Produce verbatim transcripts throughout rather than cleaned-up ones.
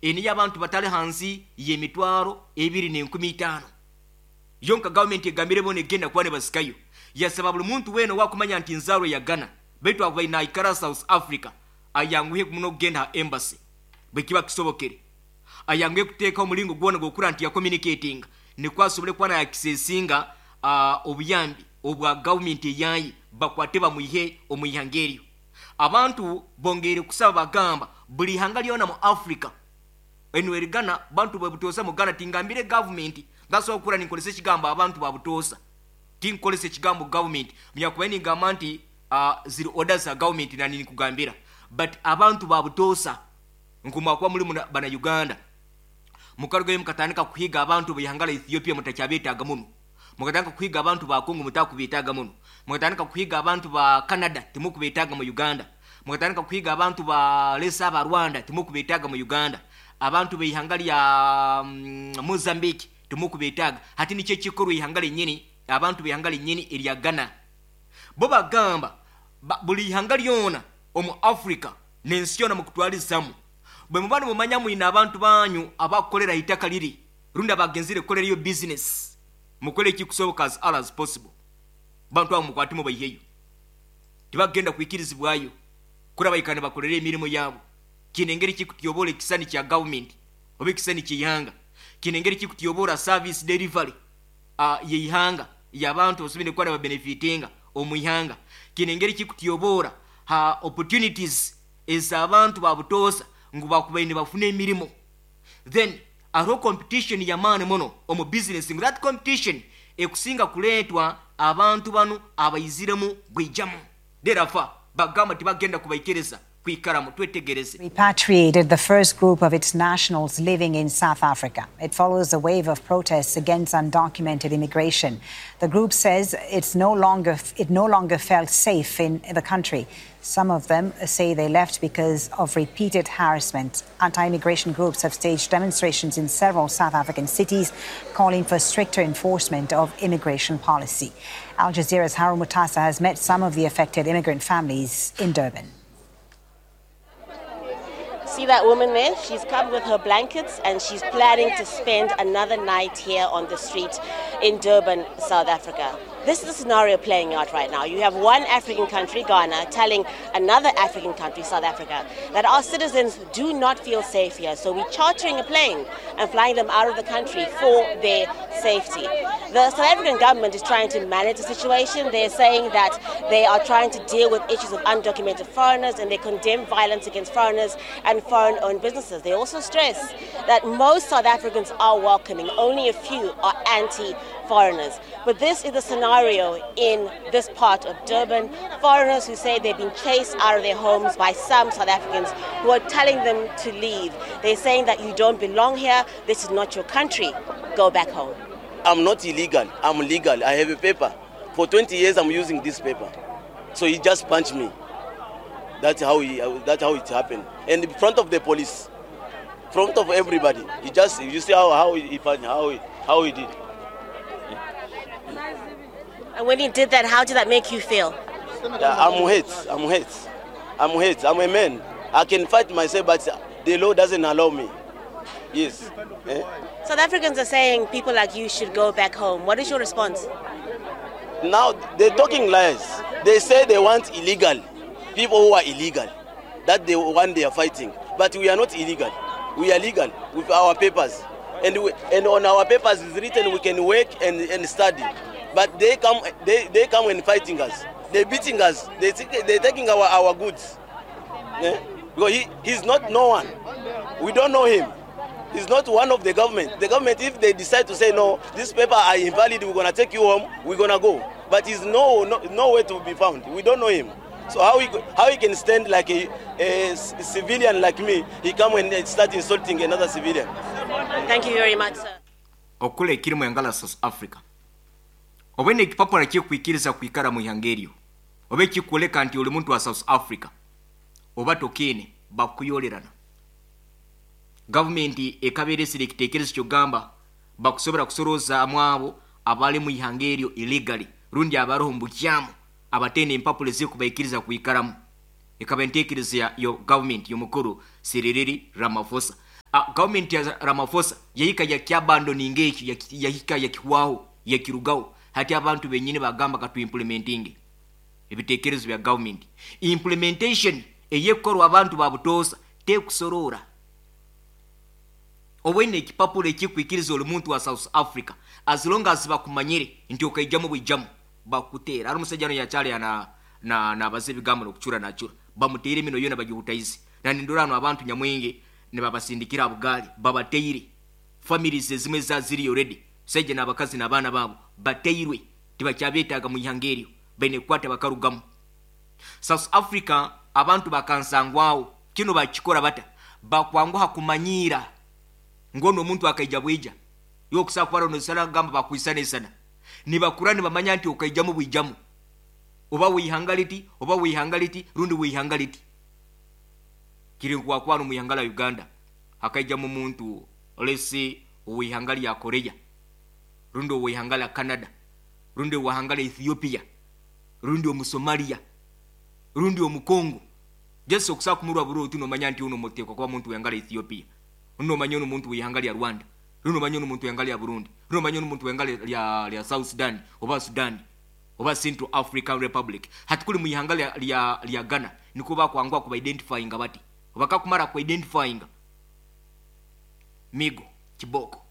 Eniyo abantu batali hansi y'emitwaro ebiri n'enkumi itaano yonka. Gavumenti egambire bona egenda kuba nebasikayo. Yasaba buli muntu weena owakumanya nti nzaarwa ya Ghana baitu akubaire naikara South Africa ayanguhe muno okugenda ha embassy bwe kiba kisobokere, ayanguhe kuteekaho omulingo gwona gwokura nti yacommunicatinga nikwo asobole kuba nayakisesinga uh, obuyambi obwa gavumenti eyayi bakwate bamwihe omu ihanga eryo. Abantu bongeire kusaba, bagamba buli ihanga lyona mu Africa eno eri Ghana. Bantu babutoosa mu Ghana, tingambire gavumenti, ngasobola kukura ninkolesa ekigambo abantu babutoosa, tinkolesa ekigambo gavumenti munyakubaire ningamba nti uh, ziri orders za gavumenti nani nikugambira, but abantu babutoosa nkumwakuba muli muna- bana Uganda mukarugayo mukatandika kuhiga abantu beihanga la Ethiopia, mutakyabeetaaga muno. Mukatandika kuhiga abantu ba Congo, mutakubeetaaga muno. Mukatandika kuhiga abantu ba Canada, timukubeetaaga mu Uganda. Mukatandika kuhiga abantu ba lesa aba Rwanda, timukubeetaaga mu Uganda. Abantu beihanga lya mm, Mozambique timukubeetaaga. Hati nikyo ekikorwa ihanga lenyini, abantu beihanga lenyini erya Ghana bo bagamba ba, buli ihanga lyona omu Africa n'ensi yona mukutwalizamu, bwe muba nimumanya mwine abantu banyu abakukolera itaka liri rundi abagenzire kukolerayo business, mukole ekikusoboka as early as possible, bantu abo mukwate mubaiheyo. Tibagenda kwikirizibwayo kurabaikana bakolera emirimu yaabo. Kino engeri kikutyobola ekisani kya gavumenti oba ekisani ky'eihanga. Kino engeri kikutyobola service delivery uh, yeihanga yabantu osobire kuba babenefitinga omu ihanga. Kino engeri kikutyobola ha opportunities ez'abantu babutoosa ngu bakubaire bafuna emirimu. Then hariho competition yamaani muno omu business, ngu that competition ekusinga kuleetwa abantu banu abaiziremu bwijamu. Therefore bagamba tibagenda kubaikiriza kwikaramu. Twetegereze. Repatriated the first group of its nationals living in South Africa. It follows a wave of protests against undocumented immigration. The group says it's no longer, it no longer felt safe in the country. Some of them say they left because of repeated harassment. Anti immigration groups have staged demonstrations in several South African cities calling for stricter enforcement of immigration policy. Al Jazeera's Harold Mutasa has met some of the affected immigrant families in Durban. See that woman there? She's come with her blankets and she's planning to spend another night here on the street in Durban, South Africa. This is the scenario playing out right now. You have one African country, Ghana, telling another African country, South Africa, that our citizens do not feel safe here. So we're chartering a plane and flying them out of the country for their safety. The South African government is trying to manage the situation. They're saying that they are trying to deal with issues of undocumented foreigners and they condemn violence against foreigners and foreign owned businesses. They also stress that most South Africans are welcoming, only a few are anti foreigners. But this is the scenario in this part of Durban. Foreigners who say they've been chased out of their homes by some South Africans who are telling them to leave. They're saying that you don't belong here, this is not your country, go back home. I'm not illegal, I'm legal. I have a paper. For twenty years, I'm using this paper. So he just punched me. That's how, he, that's how it happened. And in front of the police, front of everybody. He just, you see how, how, he, how, he, how he did. And when he did that, how did that make you feel? Yeah, I'm hurt. I'm hurt. I'm hurt. I'm a man. I can fight myself, but the law doesn't allow me. Yes. Eh? South Africans are saying people like you should go back home. What is your response? Now, they're talking lies. They say they want illegal, people who are illegal. That the one they are fighting. But we are not illegal. We are legal with our papers. And, we, and on our papers is written we can work and, and study. But they come, they, they come and fighting us. They're beating us. They, they're taking our, our goods. Yeah? Because he, he's not no one. We don't know him. He's not one of the government. The government, if they decide to say, no, this paper are invalid, we're going to take you home, we're going to go. But he's no, no, nowhere to be found. We don't know him. So how he, how he can stand like a, a civilian like me, he come and start insulting another civilian. Thank you very much, sir. Okula ekirimu engala South Africa oba nekipapula kyekwikiriza kwikara mu ihanga eryo oba ekikwoleka nti oli muntu wa South Africa oba tokiine, bakuyolerana. Gavumenti ekabeeresera ekiteekerezo kyogamba bakusobola kusorozaamu abo abali mu ihanga eryo illegally rundi abaroho mu bukyamu abateine empapula ezikubaikiriza kwikaramu. Ekaba enteekereza yo gavumenti y'omukuru Cyril Ramaphosa. Uh, gavumenti ya Ramaphosa yahika yakyabandoninga ekyo, yahika yakihwaho, yakirugaho. Hati abantu benyini bagamba katuimplementinge ebitekerezo bya gavumenti. Implementation eyekorwa abantu babutosa tekusorora. Obwine ekipapuro ekikwikiriza oli muntu wa South Africa, as long as bakumanyire nti okaijamu bwijamu bakutera. Ari omusajja ano yakyali na na nabaza ebigambo nokucura nachura, bamuteire emino yona bagihutaize. Na nindora ano abantu nyamwingi nibabasindikira bugali babateire. Families ezimwe za ziri already, sajja n'abakazi n'abaana baabo bateirwe, tibakyabetaaga mu ihanga eryo, baine kukwata bakarugamu. South Africa abantu bakansangwawo kino bakikora bata, bakwanguha kumanyiira ngono omuntu akaija bwija yokusa kwara nosana gamba bakwisana isana nibakura nibamanya nti okaijamu bwijamu, oba wihanga liti oba wihanga liti rundi wihanga liti. Kiri kwa kwano mu ihanga la Uganda akaijamu muntu lesi wihanga lya Korea rundi wihanga la Canada rundi wihanga la Ethiopia rundi omu Somalia rundi omu Congo. Jesu okusa kumurwa buru uti nomanya nti uno moteko kwa muntu wihanga la Ethiopia, uno manya uno muntu wihanga lya Rwanda, runo manya uno muntu wihanga lya Burundi, runo manya uno muntu wihanga lya lya South Sudan oba Sudan oba Central African Republic. Hatukuli mu ihanga lya lya, lya Ghana niko bakwangwa kuba identifying bati obakakumara ku identifying migo kiboko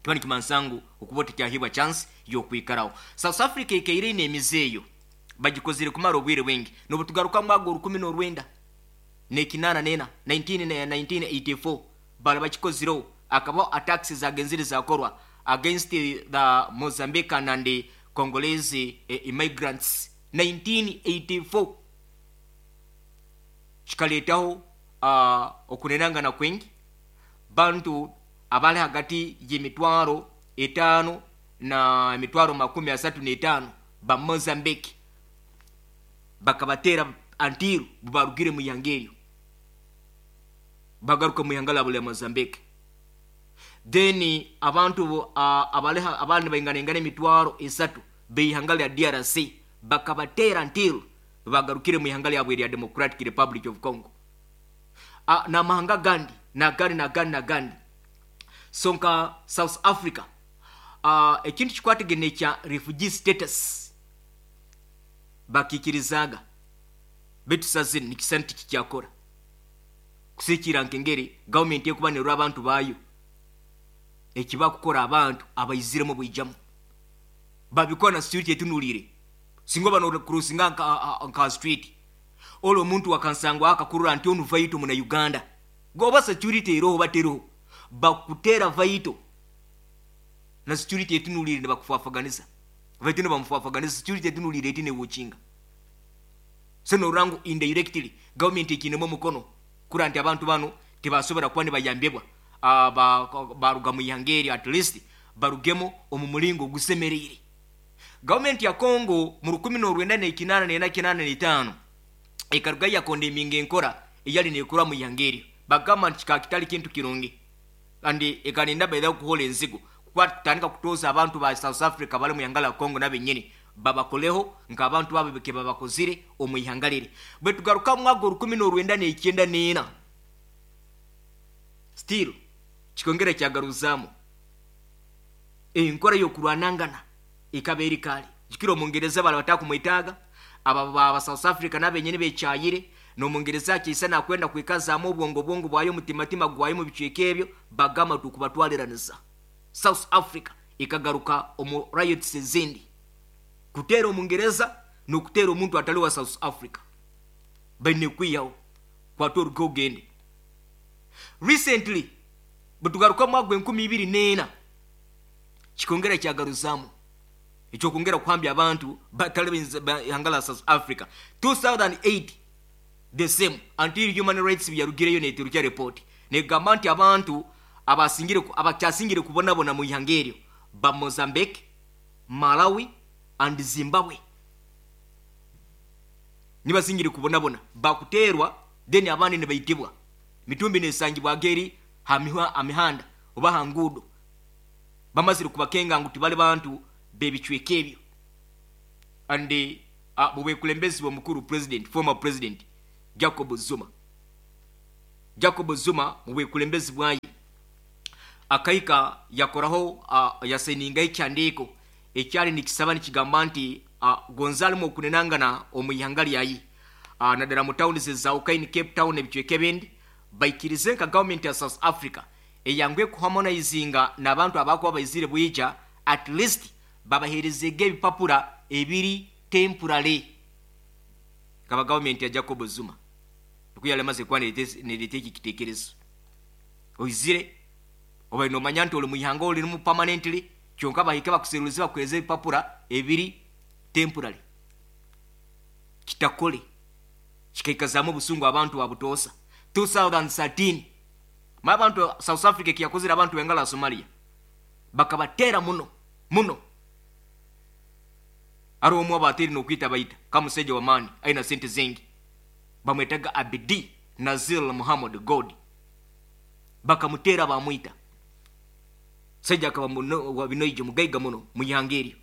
kibani kimansangu okubota kyahibwa chance yokwikarawo. South Africa ikeire n'emizeeyo bagikozire kumara obwire bwingi nobutugaruka mwago rukumi n'orwenda nekinana nena nineteen eighty-four bala bakikoziro akaba attacks zagenzire zakorwa against the Mozambican and the Congolese eh, immigrants nineteen eighty-four. Kikaletaho uh, okunenangana kwingi bantu abali hagati y'emitwaro etaano na emitwaro makumi asatu n'etaano ba Mozambique bakabatera until barugire mu ihanga eryo bagaruka mu ihanga labo lya Mozambique. Then abantu uh, abali abandi bainganengana emitwaro esatu b'ihanga lya D R C bakabatera until bagarukire mu ihanga lyabwe lya Democratic Republic of Congo. Uh, na mahanga gandi na gandi na gandi na gandi. Sonka South Africa uh, ekintu kikwategene kya refugee status bakikirizaga betu sazini nikisanti kikyakora kusikira nkengeri government yekuba nerwa abantu bayo ekiba kukora abantu abayiziremo bwijamu babikora na street etunulire singo bano kurusinga nka, nka street olo omuntu wakansangwa akakurura nti onu vaito muna Uganda goba security eroho bateroho bakutera vaito na security etunulire nebakufafaganiza vaito ne bamufafaganiza security etunulire etine watchinga seno rangu indirectly government ekinemo mukono kura nti abantu bano tebasobora kuba ne bayambebwa aba baruga mu ihangeri at least barugemo omumulingo gusemerere. Government ya Congo mu rukumi n'orwenda n'ekinana n'ena kinana n'etaano ekaruga yakondeminga enkora eyali nekura mu ihangeri bagamba nti kikakitali kintu kirungi kandi ekaninda baida kuhola enzigo kwatandika kutoza abantu ba South Africa bali mu ihanga la Congo nabenyini babakoleho nk'abantu babo beke babakozire omu ihanga riri. Bwe tugaruka mu mwaka rukumi n'orwenda n'icyenda n'ena still kikongera kyagaruzamu enkora y'okurwanangana ikaba eri kale jikiro omungereza bala batakumwetaaga aba ba South Africa nabenyini bekyayire n'omungereza akisa nakwenda kwikazaamu obwongo bwongo bwayo mutimatima gwayo mu bicweka ebyo bagamba tukubatwaliraniza. South Africa ikagaruka omu riots ezindi kutera omungereza n'okutera omuntu atali wa South Africa baine kwiyawo kwata orugo ogende. Recently bwetugaruka mu mwaka gw'enkumi ibiri n'ena kikongera kyagaruzamu ekyokongera kuhambya abantu batali ihanga la South Africa two thousand eight the same until human rights byarugireyo neterukya report negamba nti abantu abasingire abakyasingire kubonabona mu ihanga eryo ba Mozambique, Malawi and Zimbabwe nibasingire kubonabona bakuterwa then abandi ne bayitibwa mitumbi nesangibwa geri hamihwa amihanda oba hangudo bamazire kubakenga ngu tibali bantu bebicweka ebyo. And uh, bube kulembezi wa mukuru president former president Jacob Zuma Jacob Zuma mu bwekulembezi bwaye akaika yakoraho uh, yaseninga ekyandiiko ekyali nikisaba nikigamba nti uh, gonzalimu okunenangana omu ihanga lyayi uh, naddala mu tawuni zezawukaini Cape Town ebicweka ebindi baikirize nka gavumenti ya South Africa eyangwe kuharmonizinga n'abantu abakuba baizire bwija, at least babaherezege ebipapura ebiri temporary. Kaba gavumenti ya Jacob Zuma nikuyalemaze kuba nereta eki kitekerezo oizire oba nomanya nti oli muihanga olirimu permanently, kyonka bahike bakuserulize bakuhereze ebipapura ebiri temporary. Kitakole kikaikazamu obusungu abantu babutoosa. twenty thirteen ma abantu South Africa kiyakozere abantu bengala Somalia bakabatera muno muno. Ari omwe abateri nokwita baita kamuseja wa mani aina sente zingi bamwetaga Abdi Nazir Muhammad God, bakamutera bamwita seja akaba muno wa binoije mugaiga muno muyangeri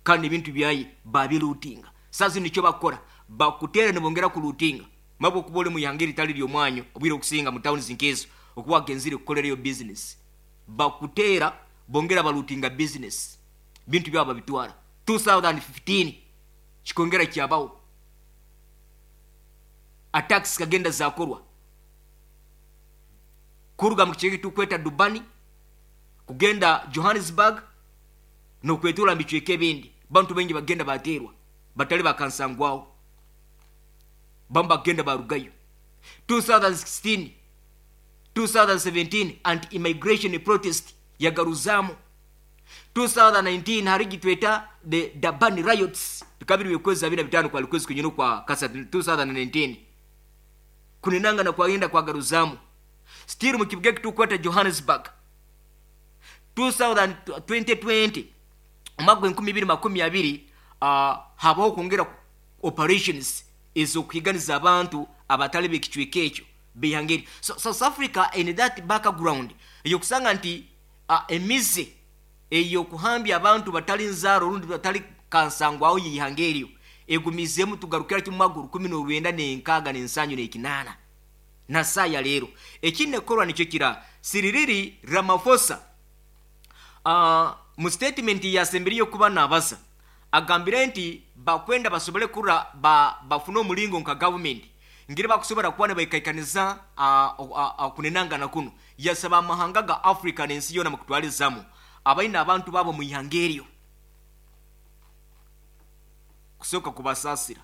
kandi ebintu byayi babilutinga. Sasa nicyo bakora bakutera nibongera kulutinga mabo kubole muyangeri tali lyomwanyo obwire okusinga mu town zinkezo okuwa genzire kukolera yo business bakutera bongera balutinga business bintu byabo babitwara. two thousand fifteen kikongera kyabawo attacks kagenda zakorwa kuruga mu kicheki tukweta Dubani kugenda Johannesburg no kwetura michweke ebindi bantu bengi bagenda baterwa batali bakansangwawo bamba genda barugayo. two thousand sixteen two thousand seventeen anti immigration protest yagaruzamu. two thousand nineteen harigi tweta the Durban riots bikabiri bikwezi abina bitano kwa likwezi kunyino kwa kasa two thousand nineteen kunenanga na kwagenda kwa garuzamu still mu kibuga kitukwata Johannesburg. two thousand twenty twenty omwaka enkumi ibiri makumi abiri uh, habaho kwongera operations ezokuhiganiza abantu abatali b'ekicweka ekyo bihangeri. So South Africa in that background eyokusanga nti uh, emize eyokuhambya abantu batali nzaro rundi batali kansangwaho yihangerio egumizemu tugarukira kimwaguru kumi n'orwenda n'enkaaga n'ensanyu n'ekinana na saya lero ekine korwa nicyo kira Cyril Ramaphosa uh, mu statement yasemberiyo kuba nabaza agambire nti bakwenda basobole kura ba, bafuna omulingo nka government ngire bakusobora kuba nebaikaikaniza kunenanga na kuno yasaba amahanga ga Africa n'ensi yona mukutwalizamu abaina abantu babo mu ihangerio kusoka kubasasira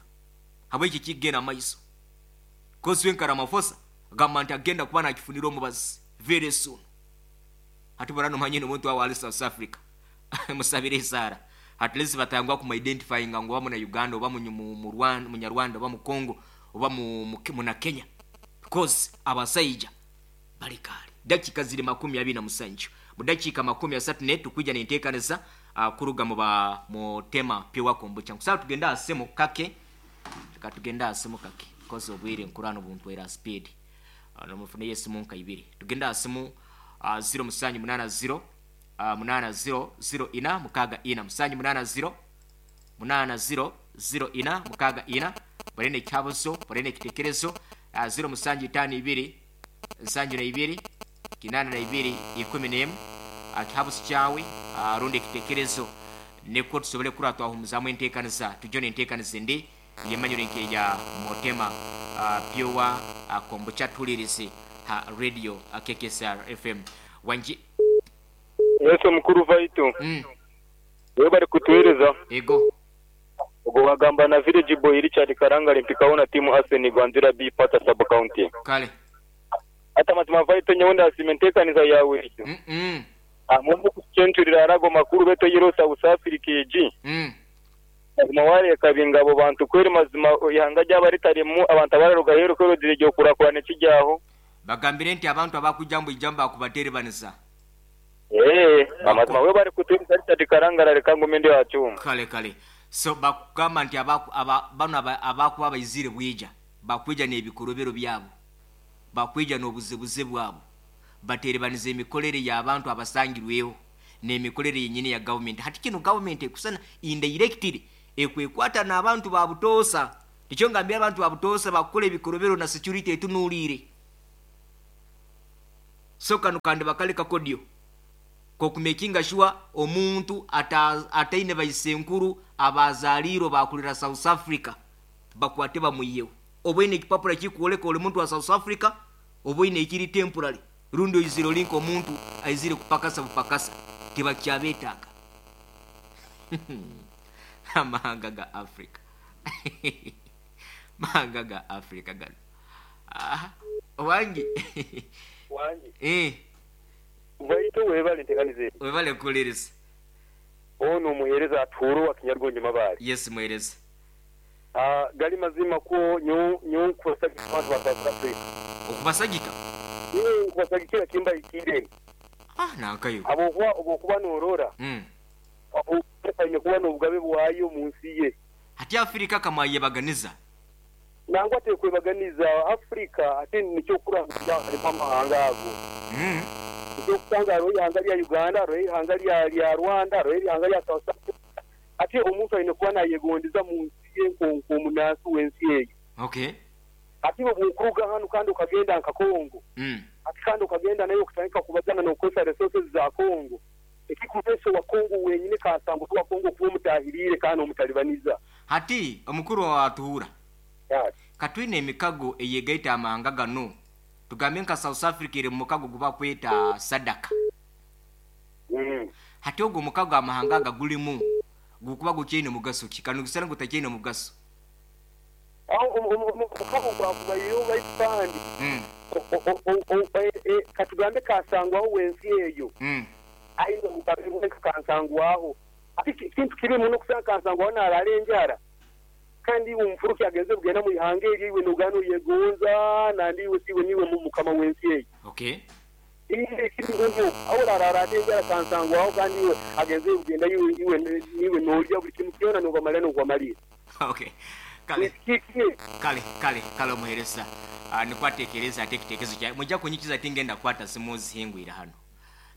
habweki kigenda maiso kosi wenka Ramaphosa agamba nti agenda kuba nakifunira omubazi very soon. Hati barano manyine omuntu wa ali South Africa musabire isara at least batangwa kuma identifying ngo bamu na Uganda oba mu Rwanda mu Nyarwanda oba mu Congo oba mu mu na Kenya because abasaija balikali dakika ziri makumi abiri na musanju mu dakika makumi asatu ne tukuja nentekaneza uh, kuruga mu ba mu tema piwa kombucha kusaba tugenda asemo kake tukatugenda asemo kake because obwire nkurano buntu era speed uh, no mufune Yesu munka ibiri tugenda asemo uh, zero musanju munana zero Uh, munana zero zero ina mukaga ina musanju munana zero munana zero zero ina mukaga ina barene kyabuzo barene kitekerezo uh, zero musanju itano ibiri nsanju na ibiri kinana na ibiri ikumi n'emu uh, kyabuzo kyawe uh, rundi kitekerezo neko tusobole kuratwa humuzamu enteekaniza tujone enteekaniza endi yemanyire nkeya motema uh, pyowa uh, kombucha tulirize ha radio uh, K K S R F M wanji Yesu mukuru vaitu. Mm. Wewe bari kutuhereza. Ego. Ubwo bagamba na Village Boy Richard Karanga limpikaona timu Arsenal Gwanzira B pata sub county. Kale. Hata mazima vaitu nyonda simentekaniza yawe. Mm -mm. Amumbu kuchenturira arago makuru beto yiro South Africa G. Mm. Mazima wale kabingabo bantu kweri mazima ihanga ry'abaritaremu abantu abararuga hero kwero diregyo kurakurana kijyaho. Bagambire nti abantu abakujambo ijamba akubaterebanisa. Eh, amazima we bari kutuhereza Richard Karangara reka ngumende wacu. Kale kale. So bakugamba nti abaku aba bano abakuba abayizire bwija bakwija n'ebikorobero byabo bakwija n'obuzibuzi bwabo baterebaniza emikolere y'abantu abasangirweho n'emikolere yenyini ya government. Hati kino government ekusana indirectly ekwekwata n'abantu babutosa. Nikyo ngambira abantu babutosa bakole ebikorobero na security etunuulire. So kano kandi bakale kakodyo kokumekinga sure omuntu ata, ataine baisenkuru abazaliro bakulira South Africa bakwate bamuyewo. Obwine ekipapula kikuoleka oli muntu wa South Africa, obwine ekiri temporary rundi oizire linka omuntu aizire kupakasa bupakasa tibakyabetaaga. Amahanga ga Africa mahanga ga Africa gano. Aha, wangi Wangi. Eh, Baitu webale nteganize. Webale kulereza. Ono muhereza aturo wa Kinyarwanda mabali. Yes muhereza. Ah, gali mazima ko nyo nyo kubasagika abantu ba South Africa. Okubasagika? Ni kubasagikira kimba ikire. Ah, nankayo. Abo kuba obo kuba norora. Mm. Abo kanye kuba n'obugabe bwayo mu nsi ye. Hati Afrika kama yebaganiza. Nangwa tekwebaganiza Afrika ate nikyo kuranga amahanga ago. Mm. Nikyo kusanga ro ihanga lya Uganda, ro ihanga lya lya Rwanda, ro ihanga lya South Africa. Ate omuntu ayine kuba nayegondiza mu nsi ye nkonko omunansi w'ensi eyo. Okay. Ate bw'okuruga hano kandi ukagenda nka Kongo. Mm. Ate kandi ukagenda nayo kutandika kubagana n'okukozesa resources za Kongo. Ekikumeso wa Kongo wenyine kasambu wa Kongo kuba omutahirire kandi omutalibaniza. Hati omukuru wa Atuhura. Yes. Katwine emikago eyegaita amahanga gano. Tugambe nka South Africa eri mu mukago guba kweta Sadaka. Mm. Hati ogwo mukago amahanga gagulimu gukuba gukyine mugaso ki? Kano gisana gutakyine mugaso. Aho omukago gwakubayo baipandi. Mm. Katugambe kasangwaho wensi eyo. Mm. Aino mukago kansangwaho. Ati kintu kibi muno kusanga kansangwaho narale enjara. Kandi umfuruki agenze kugenda mu ihanga eri iwe nogano yegonza nandi iwe siwe niwe mu mukama wensi eyo. Okay. Ile kintu nyo awora arara enjara kansangwaho kandi iwe agenze kugenda iwe iwe niwe nolya buli kintu kyona nobamala nobamaliza. Okay. Kale. Kale kale kale muhereza. Uh, nikwatekereza atekitekezo kya mujja kunyikiza tingenda kwata simu zihingwira hano.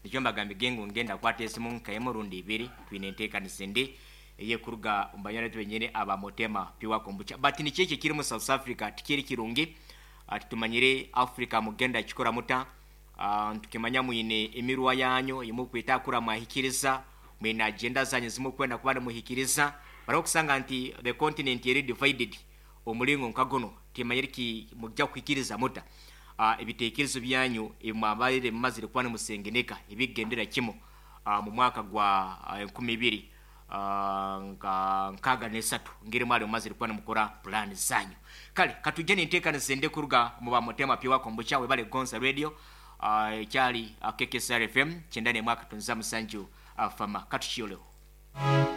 Nikyo mbagambe gengo ngenda kwata esimu nkaemo rundi ibiri twine ntekanise ndi eye kuruga mbanyana twenyene aba motema piwa kombucha. But ni cheke kiri mu South Africa tikiri kirungi atitumanyire Africa mugenda kikora muta uh, tukimanya mwine emirwa yanyu imukwita kura mwahikiriza mwine agenda zanyu zimukwenda kubana muhikiriza barakusanga nti the continent eri divided omulingo nkagono timanyire ki mujja kuhikiriza muta uh, ebitekerezo byanyu emwabalire mumazire kubana musengeneka ebigendera kimo uh, mu mwaka gwa enkumi ibiri uh, nka nkaga nesatu ngire mwali mumazire kubana mukora plan zanyu. Kale katujene ntekana sende kuruga mu ba motema piwa kombucha webale Gonza Radio uh, kyali uh, K K S R F M kyenda ne mwaka tunza musanju uh, fama katuchioleo.